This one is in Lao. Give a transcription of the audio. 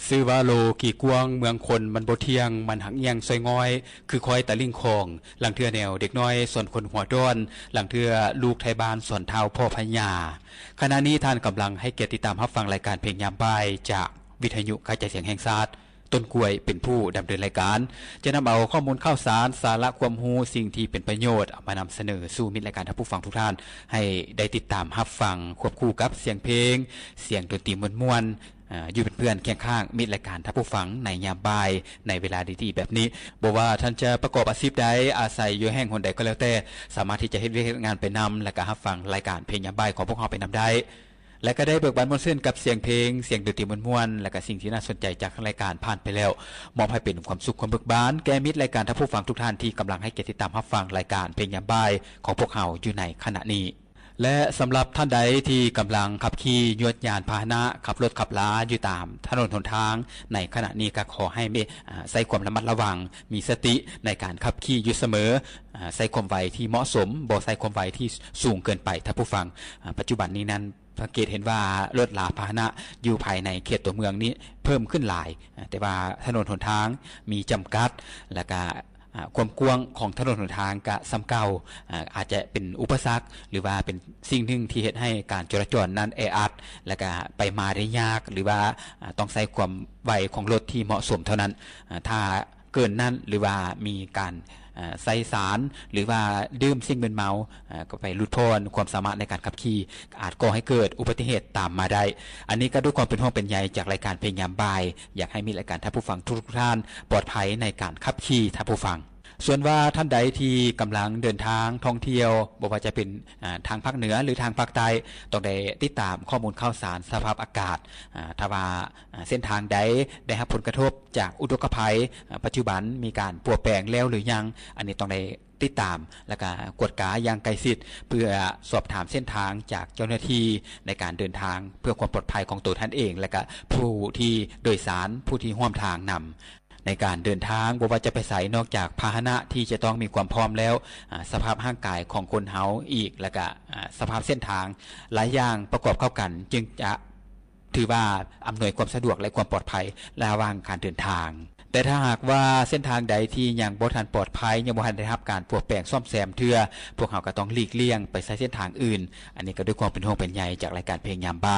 ຊື່ວ່າໂລກີກວ້າງເມືອງຄົນ ມັນບໍ່ທ່ຽງ ມັນຫັກອຽງຊ່ອຍງ່ອຍ ຄືຄອຍຕາລິງຂອງ ລາງເທື່ອແນວເດັກນ້ອຍສອນຄົນຫົວດ້ອນ ລາງເທື່ອລູກໄທບ້ານສອນທ້າວພໍ່ພະຍາ. ຂະນະນີ້ທ່ານກຳລັງໃຫ້ກຽດຕິດຕາມຮັບຟັງລາຍການເພງຍາມບ່າຍ ຈາກວິທະຍຸກະຈາຍສຽງແຫ່ງຊາດ. ຕົ້ນກ້ວຍເປັນຜູ້ດຳເນີນລາຍການ ຈະນຳເອົາຂໍ້ມູນຂ່າວສານ, ສາລະຄວາມຮູ້, ສິ່ງທີ່ເປັນປະໂຫຍດ ເອົາມານຳສະເໜີສູ່ມິດລາຍການທ່ານຜູ້ຟັງທຸກທ່ານ ໃຫ້ໄດ້ຕິດຕາມຮັບຟັງ ຄວບຄູ່ກັບສຽງເພງ, ສຽງດົນຕີມ່ວນໆ ອາ ຢູ່ເປັນເພື່ອນຄຽງຂ້າງມິດລາຍການທ່ານຜູ້ຟັງໃນຍາມບ່າຍ ໃນເວລາດີໆແບບນີ້. ບໍ່ວ່າທ່ານຈະປະກອບອາຊີບໃດ, ອາໄສຢູ່ແຫ່ງຫົນໃດກໍແລ້ວແຕ່, ສາມາດທີ່ຈະເຮັດວຽກເຮັດງານໄປນຳ ແລະກະຮັບຟັງລາຍການເພງຍາມບ່າຍຂອງພວກເຮົາໄປນຳໄດ້ ແລະກະໄດ້ເບີກບານມ່ວນຊື່ນກັບສຽງເພງ, ສຽງດົນຕີມ່ວນໆ ແລະກະສິ່ງທີ່ໜ້າສົນໃຈຈາກທາງລາຍການຜ່ານໄປແລ້ວ, ມອບໃຫ້ເປັນຄວາມສຸກຄວາມເບີກບານແກ່ມິດລາຍການທ່ານຜູ້ຟັງທຸກທ່ານທີ່ກຳລັງໃຫ້ກຽດຕິດຕາມຮັບຟັງລາຍການເພງຍາມບ່າຍຂອງພວກເຮົາຢູ່ໃນຂະນະນີ້. ແລະສຳລັບທ່ານໃດທີ່ກຳລັງຂັບຂີ່ຍວດຍານພາຫະນະ, ຂັບລົດຂັບລາຢູ່ຕາມຖະໜົນຫົນທາງໃນຂະນະນີ້ ກໍຂໍໃຫ້ມີ ອາ ໃຊ້ຄວາມລະມັດລະວັງ, ມີສະຕິໃນການຂັບຂີ່ຢູ່ສະເໝີ, ອາ ໃຊ້ຄວາມໄວທີ່ເໝາະສົມ, ບໍ່ໃຊ້ຄວາມໄວທີ່ສູງເກີນໄປ. ທ່ານຜູ້ຟັງ, ອາ ປັດຈຸບັນນີ້ນັ້ນ ສັງເກດເຫັນວ່າລົດລາພາຫະນະຢູ່ພາຍໃນເຂດຕົວເມືອງນີ້ເພີ່ມຂຶ້ນຫຼາຍ, ແຕ່ວ່າຖະໜົນຫົນທາງມີຈຳກັດ ແລະກະ ອາ ຄວາມກວ້າງຂອງຖະໜົນຫົນທາງກະສ່ຳເກົ່າ, ອາ ອາດຈະເປັນອຸປະສັກ ຫຼືວ່າເປັນສິ່ງໜຶ່ງທີ່ເຮັດໃຫ້ການຈະລາຈອນນັ້ນແອອັດ ແລະກະໄປມາໄດ້ຍາກ ຫຼືວ່າ ອາ ຕ້ອງໃຊ້ຄວາມໄວຂອງລົດທີ່ເໝາະສົມເທົ່ານັ້ນ. ອາ ຖ້າ ເກີນນັ້ນ ຫຼືວ່າມີການ ເອີ່ ໃສ່ສານ ຫຼືວ່າດື່ມສິ່ງມຶນເມົາ ເອີ່ ກໍໄປຫຼຸດຜ່ອນຄວາມສາມາດໃນການຂັບຂີ່ ອາດກໍ່ໃຫ້ເກີດອຸບັດຕິເຫດຕາມມາໄດ້. ອັນນີ້ກໍດ້ວຍຄວາມເປັນຫ່ວງເປັນໃຍຈາກລາຍການເພງຍາມບ່າຍ ຢາກໃຫ້ມິດລາຍການທ່ານຜູ້ຟັງທຸກໆທ່ານປອດໄພໃນການຂັບຂີ່ທ່ານຜູ້ຟັງ. ສ່ວນວ່າທ່ານໃດທີ່ກຳລັງເດີນທາງທ່ອງທ່ຽວ ບໍ່ວ່າຈະເປັນ ເອີ່ ທາງພາກເໜືອ ຫຼື ທາງພາກໃຕ້ ຕ້ອງໄດ້ຕິດຕາມຂໍ້ມູນຂ່າວສານສະພາບອາກາດ. ເອີ່ ຖ້າວ່າ ອາ ເສັ້ນທາງໃດໄດ້ຮັບຜົນກະທົບຈາກອຸທົກກະໄພ ອາ ປັດຈຸບັນມີການປົວແປງແລ້ວຫຼືຍັງ, ອັນນີ້ຕ້ອງໄດ້ຕິດຕາມ ແລະກະກວດກາຢ່າງໃກ້ຊິດ ເພື່ອສອບຖາມເສັ້ນທາງຈາກເຈົ້າໜ້າທີ່ໃນການເດີນທາງ ເພື່ອຄວາມປອດໄພຂອງໂຕທ່ານເອງ ແລະກະຜູ້ທີ່ໂດຍສານ ຜູ້ທີ່ຮ່ວມທາງນຳ. ໃນການເດີນທາງ ບໍ່ວ່າຈະໄປໃສ ນອກຈາກພາຫະນະທີ່ຈະຕ້ອງມີຄວາມພ້ອມແລ້ວ, ອາ ສະພາບຮ່າງກາຍຂອງຄົນເຮົາອີກ ແລະກະ ອາ ສະພາບເສັ້ນທາງ ຫຼາຍຢ່າງປະກອບເຂົ້າກັນ ຈຶ່ງຈະ ຖືວ່າອຳນວຍຄວາມສະດວກ ແລະ ຄວາມປອດໄພລະຫວ່າງການເດີນທາງ. ແຕ່ຖ້າຫາກວ່າເສັ້ນທາງໃດທີ່ຍັງບໍ່ທັນປອດໄພ, ຍັງບໍ່ທັນໄດ້ຮັບການປົວແປງສ້ອມແຊມເທື່ອ, ພວກເຮົາກໍຕ້ອງຫຼີກລ່ຽງໄປໃຊ້ເສັ້ນທາງອື່ນ. ອັນນີ້ກໍດ້ວຍຄວາມເປັນຫ່ວງເປັນໃຍຈາກລາຍການເພງຍາມບ່າຍ.